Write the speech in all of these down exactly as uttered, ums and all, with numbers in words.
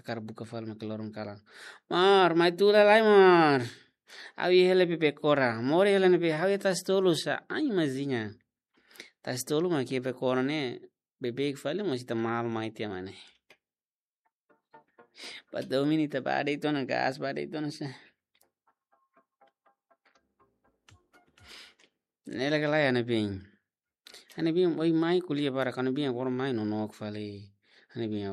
Hakarak buka fali mak loron kalan. Mar, mai tula lai, mar. Ha'u iha hela bebekora. Moris hela ne'ebé, ha'u iha Tasitolu sa. Ai, maziña. Tasitolu mak iha bebekora ne'e. Beibeik fali, mas ita malu mai tiha mak ne'e. Ba domin ita ba de'it ona, gás ba de'it ona sa. Ne'e lagi lai, ha'u-nia biin. Ha'u-nia biin, oi mai ko'alia barak, ha'u-nia biin, agora mai nonook fali. Ha'u-nia biin,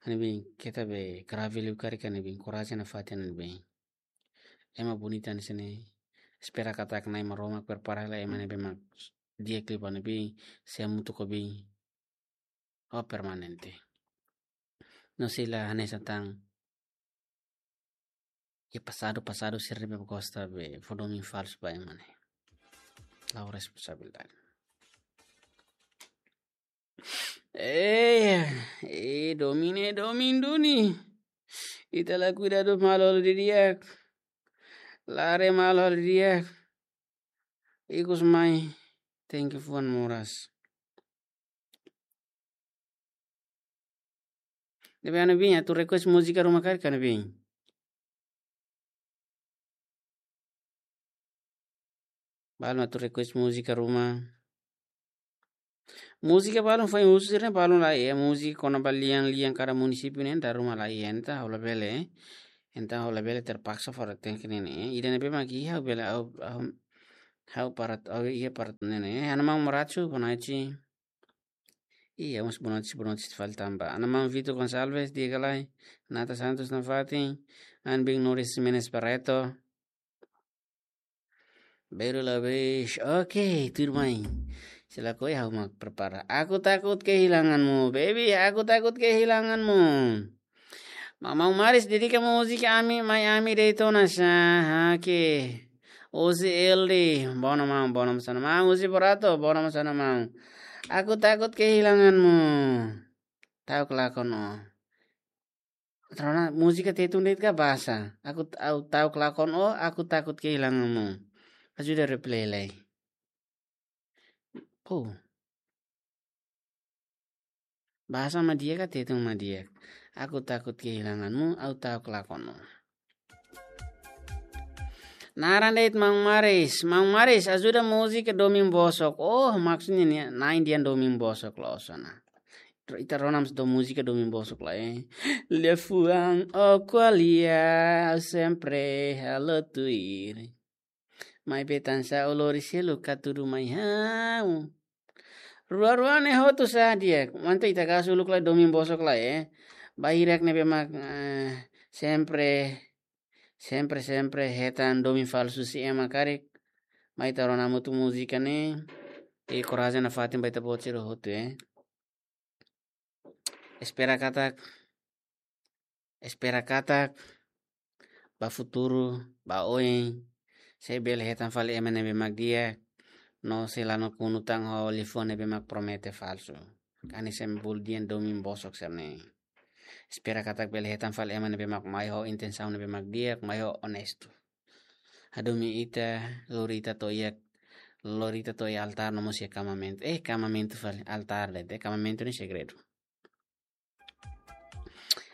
ha'u-nia biin, keta be grave liu karik, ha'u-nia biin, korajen nafatin, ha'u-nia biin. Ema bonita hanesan ne'e, espera katak Na'i Maromak prepara hela ema ne'ebé mak di'ak liu ba ha'u-nia biin, sei hamutuk ho biin. Ho permanente. No sei la hanesan tan. Iha pasadu, pasadu sira ne'ebé gosta be fó domin falsu ba ema ne'e. La'ós responsabilidade. Eh, eh, domin ne'e, domin duni. Ita la kuidadu malu halo didi'ak. La haree malu halo didi'ak. Ikus mai, tenke fuan moras. Ne'ebé ha'u-nia biin, atu request múzika ruma karik ha'u-nia biin. Balun atu request múzika ruma. Múzika balun foin husu sira-ne'e balun laiha, múzika kona-ba lian-lian kada munisípiu ne'e dala ruma laiha, entaun ha'u labele. Entaun ha'u labele, terpaksa fora tenke ne'e. Ida ne'ebé mak iha ha'u bele, ha'u, ha'u, ha'u parat, ha'u iha parat ne'e. Ha'u-nia maun Morachu, boa noite. Iha, mas boa noite, boa noite fali tanba. Ha'u-nia maun Vitor Gonçalves, di'ak ka lae. Nata Santos nafatin. Ha'u-nia biin Noris Menezes Barreto. Baru la bes. Oke, tuirmai. Sila koi ha'u mak prepara. Aku takut kehilanganmu, baby. Aku takut kehilanganmu. Maun Maris, dedika múzika ami, mai ami de'it ona sa. Oke. Ozi L D, bono maun, bono maun sana maun. Ozi Borato, bono maun sana maun. Aku takut kehilanganmu. Ta'uk lakon ó. Ita rona múzika Tetun de'it ka bahasa? Aku, ha'u ta'uk lakon ó, aku takut kehilanganmu. Ajuda replay lai. Oh. Bahasa mak di'ak ka Tetun mak di'ak? Aku takut kehilanganmu, ha'u ta'uk lakon ó. Naran de'it Maun Maris. Maun Maris, ajuda múzika domin bosok. Oh, maksudnya ne'e, na'in dehan domin bosok loos ona. Ita rona mós dom múzika domin bosok lai, eh. Liafuan ó ko'alia, sempre halo tuir. Maibé tansá ó lori seluk hatudu mai ha'u. Rua-rua ne'e hotu sá di'ak. Entaun ita kasu uluk lai domin bosok lai, eh. Ba hirak ne'ebé mak, eh, sempre, sempre, sempre hetan domin falsu husi ema karik. Mai ita rona hamutuk múzika ne'e. I korajen nafatin ba ita-boot sira hotu, eh. Espera katak, espera katak ba futuru, ba oin, sei bele hetan fali ema ne'ebé mak di'ak, no sei la nakonu tan ho liafuan ne'ebé mak promete falsu. Hanesan bolu dehan domin bosok sira-ne'e. Espera katak bele hetan fali ema ne'ebé mak mai ho intensaun ne'ebé mak di'ak, mai ho onestu. Hadomi ita, lori ita to'o iha, lori ita to'o iha altár no mós iha kamamentu. Eh, kamamentu fali, altár de'it, eh, kamamentu ne'e segredu.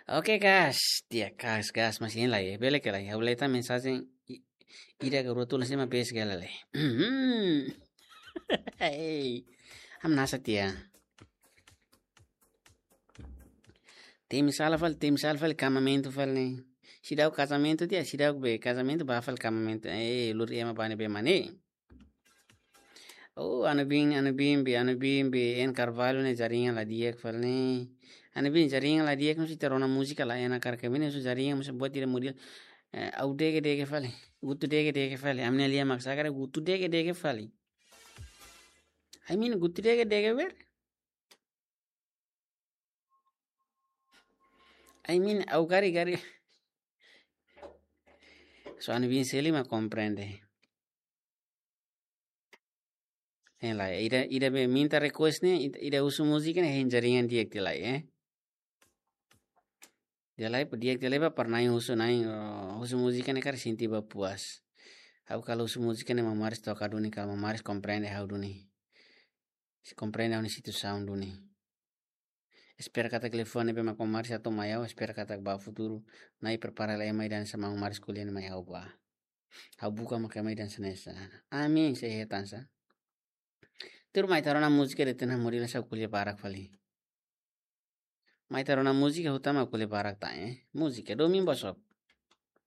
Oke, gas. Di'ak, gas, gas, mas hein lai, eh, bele ka lae. Ha'u lee tan mensajen i-, ida ka rua tula sima bes gala lai. Hei. Hamnasa tiha. Temi sala fali, temi sala fali, kamamentu fali ne'e. Seidauk kazamentu tiha, seidauk be kazamentu ba fali kamamentu. Eh, lori ema ba ne'ebé mak ne'e. Oh, ha'u-nia biin, ha'u-nia biin be, ha'u-nia biin be, N Carvalho ne'e jaringan la di'ak fali ne'e. Ha'u-nia biin jaringan la di'ak, no sei ita rona múzika la enak karik, ami ne'e husu jaringan mós buat ida model. Eh, ha'u dege-dege fali, gutu dege-dege fali. Ami-nia lian mak sá karik gutu dege-dege fali. I mean, gutu dege-dege wer. I mean, ha'u gari-gari. So, ha'u-nia biin Seli mak komprende. Eh, lae, ida, ida be minta request ne'e, ida, ida husu múzika ne'e, hein jaringan di'ak tiha lai, eh. Tiha lai, di'ak tiha lai ba para na'in husu na'in, oh, husu múzika ne'e karik sente ba puas. Ha'u kalau husu múzika ne'e Maun Maris toka duni, kalau Maun Maris komprende ha'u duni. Sei komprende ha'u-nia situasaun duni. Espera katak telefone be mak ó maris atu mai ha'u, espera katak ba futuru Na'i prepara lai ema ida hanesan maun maris ko'alia ne'e mai ha'u ba. Ha'u buka maka ema ida hanesan ne'e sa. Amin, sei hetan sa. Tuir mai ita rona múzika de'it, ita-nia moris la sa ko'alia barak fali. Mai ita rona múzika, hotu mak ko'alia barak tan, eh. Múzika, domin bosok.